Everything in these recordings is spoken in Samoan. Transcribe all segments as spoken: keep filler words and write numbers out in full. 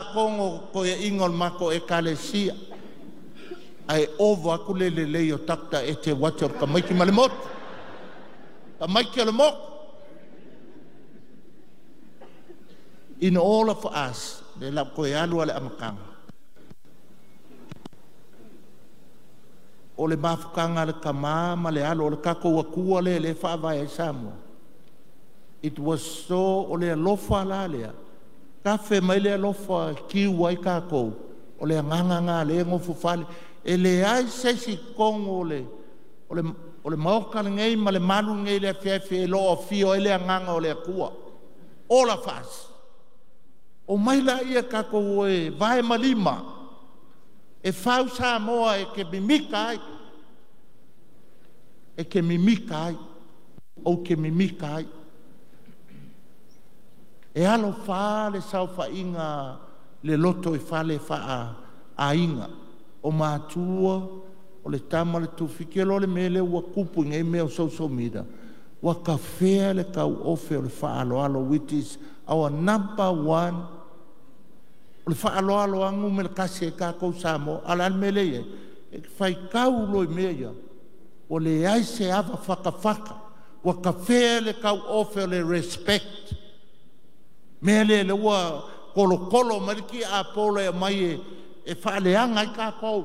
tiakono toeaina o le matou Ekalesia, ae ova atu le lelei o Doctor Eteuati o le tamaiti ma le motu, tamaiti o le motu. In all of us, le la toe alu ale amataga. O le mafutaga a le tama ma le alo o le tatou Atua lea e faavae ai Samoa. It was so, o le alofa la lea, tafe mai le alofa e tiu ai tatou, o le agaga lena lea e nofo fale. E leai se isi totonu o le, o le, o le maota lenei ma le malu lenei i le afiafi e le o afio ai le agaga o le Atua. All of us. O mai laia tatou e vae ma lima, e fau Samoa e te mimita ai, e te mimita ai, ou te mimita ai. E alofa le saofaiga le loto i fale faa-aiga, o matua, o le tama le tufiti loa le mea lea ua tupu i nei mea o social media, ua tafea le tauofe o le faaaloalo, which is our number one. O le faaaloalo lava numera tasi ai tatou Samoa. A o le a le mea lea e i ai? E te faitau loa i mea ia, ua leai se ava fatafata, ua tafea le tauofe o le respect. Mea lea lea ua tolotolo mai le tiapolo e aumai e, e faaleaga ai tatou.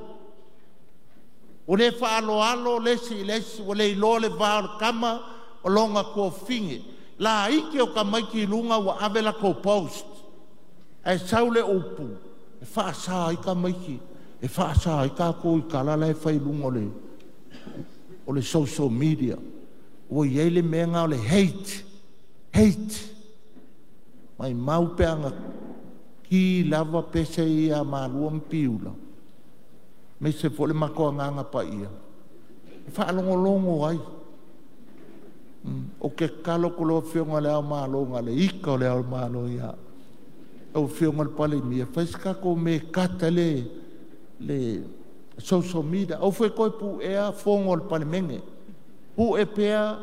Ua le faaaloalo le isi i le isi, ua le iloa le va o le tama o lona tuafafine. Laiti o tamaiti i luga ua ave latou post. Ae sau le upu, e faasa ai tamaiti, e faasa ai tatou i tala la e fai i luga o le, o le social media. Ua i ai le mea lena o le hate, hate. Maimau pe ana ki lava pese ia Malua ma Piula, aemaise foi le matou agaga paia, e faalogologo ai. Ou te tatalo atu i lau Afioga i Le Ao Malo, na o le ita o Le Ao o le Malo ia au, lau Afioga i le Palemia, fai se tatou mea e cut ai le, le social media. Aua foi e toe puea fono a le Palemene. Pue pea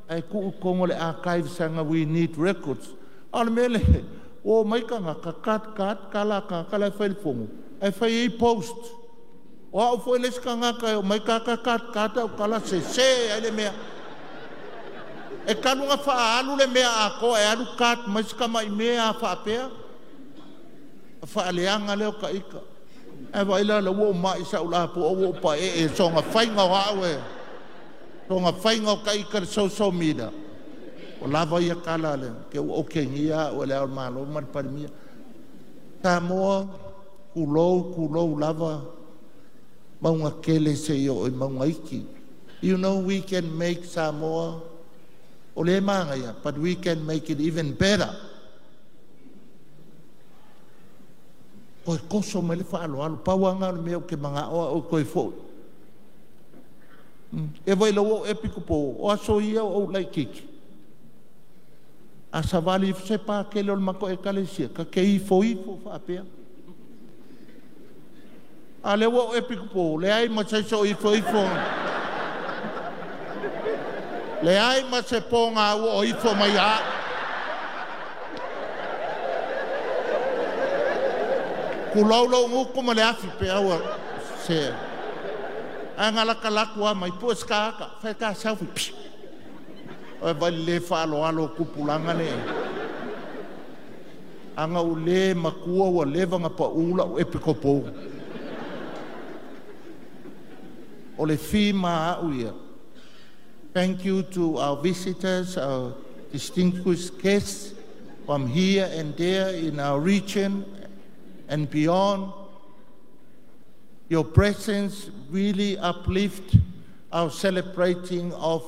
ae tuu i totonu o le archives leaga we need records. A o le mea lea, ua omai tagata, cut cut tala a tagata la e fai i le fono, ae fai ai post. O au foi le isi tagata e omai tagata cut cut au tala sese ai le mea. E talu ona faaalu le mea atoa e alu cut mai si tamai mea a faapea. Faaleaga lea o ta ita. Ae vaai la o lea ua ou mai sau lapoa ua ou paee i soona faiga o au e, soona faiga o ta ita i le social media. O lava ia tala le, ke ua okegia au e le Ao o le Malo ma le Palemia. Samoa, tulou, tulou lava, mauga tele seia oo i mauga iti. You know we can make Samoa, o le manaia, but we can make it even better. Toe toso mai le faaaloalo, pau lava lena o le mea ou te manao au e toe foi. E vai lau ou epikopo, o aso ia o ou laitiiti. A savali ifo se pakele o le matou ekalesia, ta te ifo ifo faapea. A lea ua ou epikopo, leai ma se isi o ifo ifo. Leai ma se pōga ua o ifo mai ia au. Tulou lou gutu ma le afi pe aua se. Ae na latalatu lava mai, pue se ata, fai ta selfie. Psh. Oi vai le faaaloalo o tupulaga le. Aga ua le matua ua leva na pau lau epikopo. O le fi ma au ia. Thank you to our visitors, our distinguished guests from here and there in our region and beyond. Your presence really uplift our celebrating of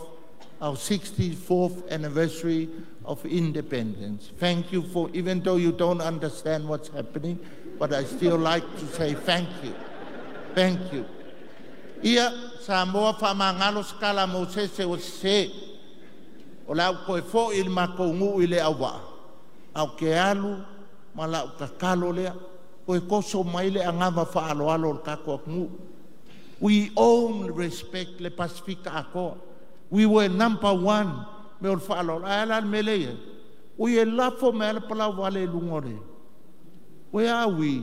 our sixty-fourth anniversary of independence. Thank you for, even though you don't understand what's happening, but I still like to say thank you. Thank you. Ia, Samoa faamagalo se tala a Mosese ua sese. O le au toe foi i le matou nuu i le auvaa. Au ke alu ma lau tatalo lea. Toe toso mai le agava faaaloalo o le tatou atunuu. We own respect le Pasifika atoa. We were number one me o le faaaloalo. Ae a la le mea lea e i ai? Ui e lafo mai lava le palau vale i luga o le. Where are we?